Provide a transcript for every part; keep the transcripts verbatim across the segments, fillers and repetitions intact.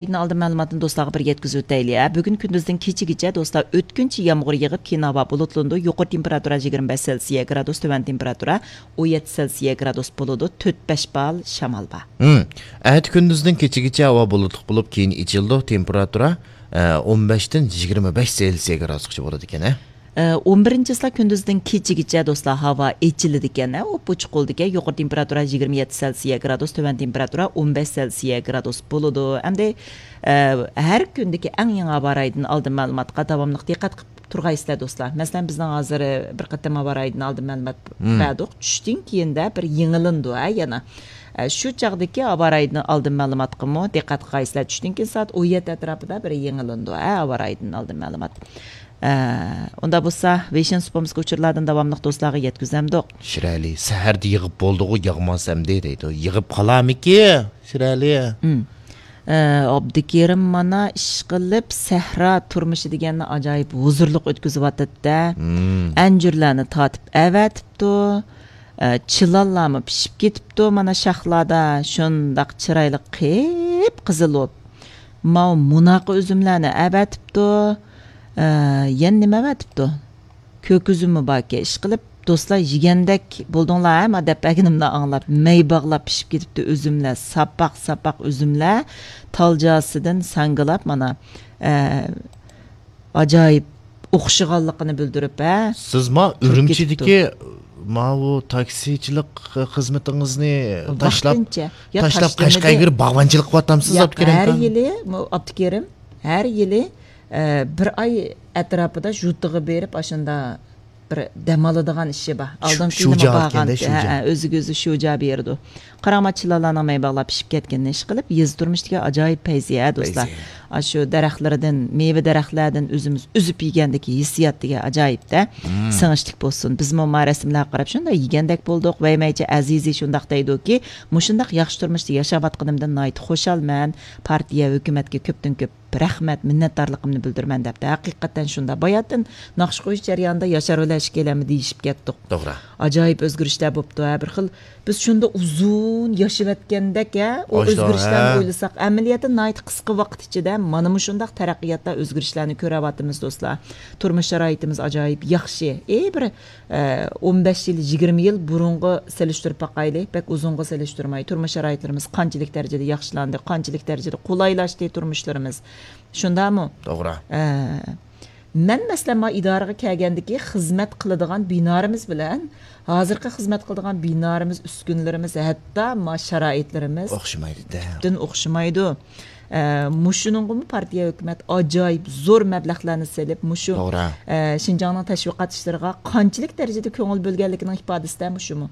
ئالدىن مەلۇماتنى دوستلارغا بىر يەتكۈزۈپ ئۆتەيلى. بە، بۈگۈن كۈندۈزدىن كېچىگىچە دوستلار ئۆتكۈنچى يامغۇر يېغىپ، كېيىن ھاۋا بۇلۇتلىنىدۇ. يۇقىرى تېمپېراتۇرا يىگىرمە بەش سېلسىيە گرادۇس، تۆۋەن تېمپېراتۇرا ئون يەتتە سېلسىيە گرادۇس بولىدۇ. تۆت بەش بال شامال بار. ھىم. ئەتە كۈندۈزدىن كېچىگىچە ھاۋا بۇلۇتلۇق بولۇپ، كېيىن ئېچىلىدۇ. تېمپېراتۇرا، ئە، ئون بەشتىن يىگىرمە بەش سېلسىيە گرادۇسقىچە بولىدىكەن، ھە؟ ئە، ئون بىرىنچى چىسلا كۈندۈزدىن كېچىگىچە دوستلار ھاۋا ئېچىلىدىكەن، ھە، ئوپئوچۇق بولىدىكەن. يۇقىرى تېمپېراتۇرا يىگىرمە يەتتە سېلسىيە گرادۇس، تۆۋەن تېمپېراتۇرا ئون بەش سېلسىيە گرادۇس بولىدۇ. ئەمدى، ئە، ھەر كۈندىكى ئەڭ يېڭى ھاۋا رايىدىن ئالدىن مەلۇماتقا داۋاملىق دىققەت قىلىپ تۇرغايسىلەر دوستلار. مەسىلەن، بىزنىڭ ھازىر بىر قېتىم ھاۋا رايىدىن ئالدىن مەلۇمات بەردۇق. چۈشتىن كېيىندە بىر يېڭىلىنىدۇ، ھە، يەنە. ئە، شۇ چاغدىكى ھاۋا رايىدىن ئالدىن مەلۇماتقىمۇ دىققەت قىلغايسىلەر. چۈشتىن كېيىن سائەت ئون يەتتە ئەتراپىدا بىر يېڭىلىنىدۇ، ھە، ھاۋا رايىدىن ئالدىن مەلۇمات. ئە، ئۇندا بولسا، ۋېيشىن سۇپىمىزغا ئۇچۇرلاردىن داۋاملىق دوستلارغا يەتكۈزەمدۇق. شىرئەلى، سەھەردە يېغىپ بولدىغۇ، ياغماسا ئەمدى دەيدۇ. يېغىپ قالارمىكى، شىرئەلى؟ ئە، ئابدۇكېرىم مانا ئىشقىلىپ سەھرا تۇرمۇشى دېگەننى ئاجايىپ ھۇزۇرلۇق ئۆتكۈزۈۋاتىدۇ-دە. ئەنجۈرلەرنى تارتىپ ئەۋەتىپتۇ. ئە، چىلانلارمۇ پىشىپ كېتىپتۇ، مانا شاخلاردا شۇنداق چىرايلىق قىپقىزىل بولۇپ. ماۋۇ مۇناقا ئۈزۈملەرنى ئەۋەتىپتۇ. ئە، يەنە نېمە ئەۋەتىپتۇ؟ كۆك ئۈزۈممۇ باركەن. ئىشقىلىپ، دوستلار، يېگەندەك بولدۇڭلار، ھە؟ ما دەپ بەرگىنىمنى ئاڭلاپ، مەي باغلاپ پىشىپ كېتىپتۇ ئۈزۈملەر، ساپاق-ساپاق ئۈزۈملەر، تال جازىسىدىن ساڭگىلاپ، مانا، ئە، ئاجايىپ ئوخشىغانلىقىنى بىلدۈرۈپ، ھە؟ سىز ما تۇرۇپ ئۈرۈمچىدىكى كېتىپتۇ. ماۋۇ تاكسىچىلىق خىزمىتىڭىزنى تاشلاپ، ۋاقتىنچە. يا تاشلاپ، تاشلىمىدى. قەشقەرگە بېرىپ باغۋەنچىلىك قىلىۋاتامسىز، ياق، ئابدۇكېرىم ھەر ئاكا؟ يىلى، مۇ-، ئابدۇكېرىم، ھەر يىلى، ئە، بىر ئاي ئەتراپىدا ژۇتىغا بېرىپ، ئاشۇندا بىر دەم ئالىدىغان ئىشى بار. شۇ-، ئالدىنقى يىلىمۇ شۇجا بارغانتى. ئىكەندە، ھە، شۇجا. ھە، ئۆزىگە ئۆزى شۇجا بېرىدۇ. قاراڭ، ما چىلانلارنىڭ مەي باغلاپ پىشىپ كەتكىنىنى ئىشقىلىپ، يېزا تۇرمۇشىدىكى ئاجايىپ پەيزىيە، دوستلار. پەيزىيە. ئاشۇ دەرەخلىرىدىن، مېۋە دەرەخلەردىن ئۆزىمىز ئۈزۈپ يېگەندىكى ھېسسىيات دېگەن ئاجايىپ-دە. سىڭىشلىك بولسۇن. بىزمۇ ما رەسىملەرگە قاراپ شۇنداق يېگەندەك بولدۇق. ۋەيمەيچە ئەزىزى شۇنداق دەيدۇكى، مۇشۇنداق ياخشى تۇرمۇشتا ياشاۋاتقىنىمدىن ناھايىتى خۇشالمەن. پارتىيە، ھۆكۈمەتكە كۆپتىن كۆپ رەھمەت، مىننەتدارلىقىمنى بىلدۈرىمەن دەپتۇ. ھەقىقەتەن شۇنداق. باياتىن ناخشا قويۇش جەريانىدا ياشار بىلەن ئىككىيلەنمۇ دېيىشىپ كەتتۇق. توغرا. ئاجايىپ ئۆزگىرىشلەر بوپتۇ، ھە، بىر خىل. بىز شۇنداق ئۇزۇن ياشىۋەتكەندەك، ھە، ئۇ ئاشۇنداق، ئۆزگىرىشلەرنى ھە. ئويلىساق، ئەمەلىيەتتە ناھايىتى قىسقا ۋاقىت ئىچىدە مانا مۇشۇنداق تەرەققىياتتا ئۆزگىرىشلەرنى كۆرۈۋاتىمىز، دوستلار. تۇرمۇش شارائىتىمىز ئاجايىپ ياخشى. ئى، بىر ئە، ئون بەش يىل، يىگىرمە يىل بۇرۇنغا سېلىشتۇرۇپ باقايلى، بەك ئۇزۇنغا سېلىشتۇرماي، تۇرمۇش شارائىتلىرىمىز قانچىلىك دەرىجىدە ياخشىلاندى، قانچىلىك دەرىجىدە قولايلاشتى تۇرمۇشلىرىمىز. شۇنداقمۇ؟ توغرا. ئە، مەن، مەسىلەن، ما ئىدارىگە كەلگەندىكى خىزمەت قىلىدىغان بىنالىرىمىز بىلەن ھازىرقى خىزمەت قىلىدىغان بىنالىرىمىز، ئۈسكۈنىلىرىمىز، ھەتتا ما شارائىتلىرىمىز ئوخشىمايدۇ-دە. تۈپتىن ئوخشىمايدۇ. ئە، مۇشۇنىڭغىمۇ پارتىيە، ھۆكۈمەت ئاجايىپ زور مەبلەغلەرنى سېلىپ، مۇشۇ، توغرا. ئە، شىنجاڭنىڭ تەشۋىقات ئىشلىرىغا قانچىلىك دەرىجىدە كۆڭۈل بۆلگەنلىكىنىڭ ئىپادىسىدە مۇشۇمۇ.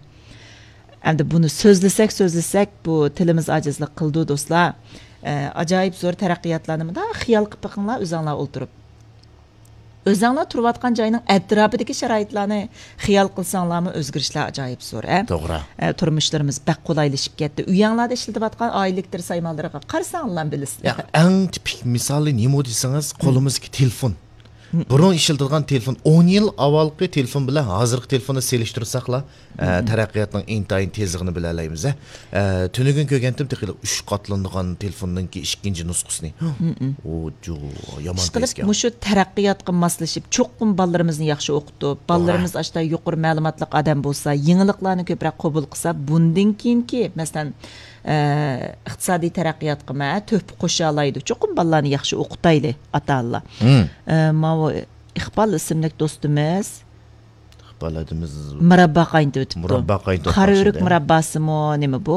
ئەمدى بۇنى سۆزلىسەك، سۆزلىسەك، بۇ تىلىمىز ئاجىزلىق قىلىدۇ، دوستلار. ئە، ئاجايىپ زور تەرەققىياتلارنى مۇنداق خىيال قىلىپ بېقىڭلار، ئۆزەڭلار ئولتۇرۇپ. ئۆزەڭلار تۇرۇۋاتقان جاينىڭ ئەتراپىدىكى شارائىتلارنى خىيال قىلساڭلارمۇ، ئۆزگىرىشلەر ئاجايىپ زور، ھە؟ توغرا. ئە، تۇرمۇشلىرىمىز بەك قولايلىشىپ كەتتى. ئۆيەڭلاردا ئىشلىتىۋاتقان ئائىلە ئېلېكتر سايمانلىرىغا قارىساڭلار بىلىسىلەر. ياق، ئەڭ تىپىك مىسالى نېمە دېسىڭىز، قولىمىزدىكى تېلېفون. بۇرۇن ئىشلىتىدىغان تېلېفون، ئون يىل ئاۋۋالقى تېلېفون بىلەن ھازىرقى تېلېفوننى سېلىشتۇرساقلا، ئە، تەرەققىياتنىڭ ئىنتايىن تېزلىكىنى بىلەلەيمىز، ھە. ئە، تۈنۈگۈن كۆرگەنتىم، تېخى ئۈچ قاتلىنىدىغان تېلېفوننىڭكى ئىككىنچى نۇسخىسىنى. ئۇ جو، يامان ئىشقىلىپ، تېزكەن. مۇشۇ تەرەققىياتقا ماسلىشىپ، چوقۇم بالىلىرىمىزنى ياخشى ئوقۇتۇپ، توغرا. بالىلىرىمىز ئاشتا يۇقىرى مەلۇماتلىق ئادەم بولسا، يېڭىلىقلارنى كۆپرەك قوبۇل قىلسا، بۇندىن كېيىنكى، مەسىلەن، ئە، ئىقتىسادىي تەرەققىياتقىمۇ تۆھپە قوشالايدۇ. چوقۇم بالىلارنى ياخشى ئوقۇتايلى، ئاتا-ئانىلار. ئە، ماۋۇ ئىقبال ئىسىملىك دوستىمىز، ئىقبال ھەدىمىز مۇراببا قاينىتىۋېتىپتۇ. مۇراببا قاينىتىۋاتقان قارا ئۆرۈك شەيدە. مۇرابباسىمۇ نېمە بۇ؟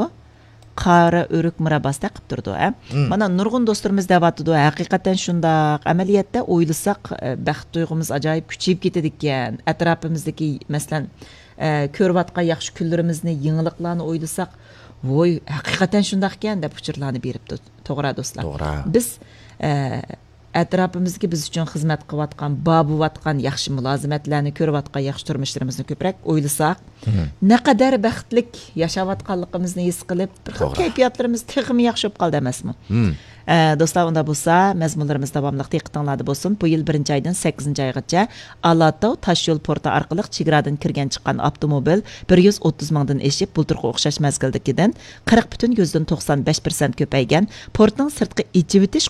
قارا ئۆرۈك مۇرابباسى تەقىپ تۇرىدۇ، ھە؟ مانا نۇرغۇن دوستلىرىمىز دەۋاتىدۇ، ھەقىقەتەن شۇنداق. ئەمەلىيەتتە ئويلىساق، ئە، بەخت تۇيغۇمىز ئاجايىپ كۈچىيىپ كېتىدىكەن. ئەتراپىمىزدىكى، مەسىلەن، ئە، كۆرۈۋاتقان ياخشى كۈنلىرىمىزنى، يېڭىلىقلارنى ئويلىساق، ۋوي، ھەقىقەتەن شۇنداقكەن دەپ ئۇچۇرلارنى بېرىپتۇ. توغرا، دوستلار. توغرا. بىز، ئە، ئەتراپىمىزدىكى بىز ئۈچۈن خىزمەت قىلىۋاتقان، بار بولۇۋاتقان ياخشى مۇلازىمەتلەرنى كۆرۈۋاتقان ياخشى تۇرمۇشلىرىمىزنى كۆپرەك ئويلىساق، نەقەدەر بەختلىك ياشاۋاتقانلىقىمىزنى ھېس قىلىپ، بىر خىل كەيپىياتلىرىمىز تېخىمۇ ياخشى بولۇپ قالدى ئەمەسمۇ؟ ئە، دوستلار، ئۇنداق بولسا، مەزمۇنلىرىمىز داۋاملىق دىققىتىڭلاردا بولسۇن. بۇ يىل بىرىنچى ئايدىن سەككىزىنچى ئايغىچە ئالاتاۋ تاشيول پورتى ئارقىلىق چېگرادىن كىرگەن چىققان ئاپتوموبىل بىر يۈز ئوتتۇز مىڭدىن ئېشىپ، بۇلتۇرقى ئوخشاش مەزگىلدىكىدىن قىرىق پۈتۈن يۈزدىن توقسان بەش پىرسەنت كۆپەيگەن. پورتنىڭ سىرتقى ئېچىۋېتىش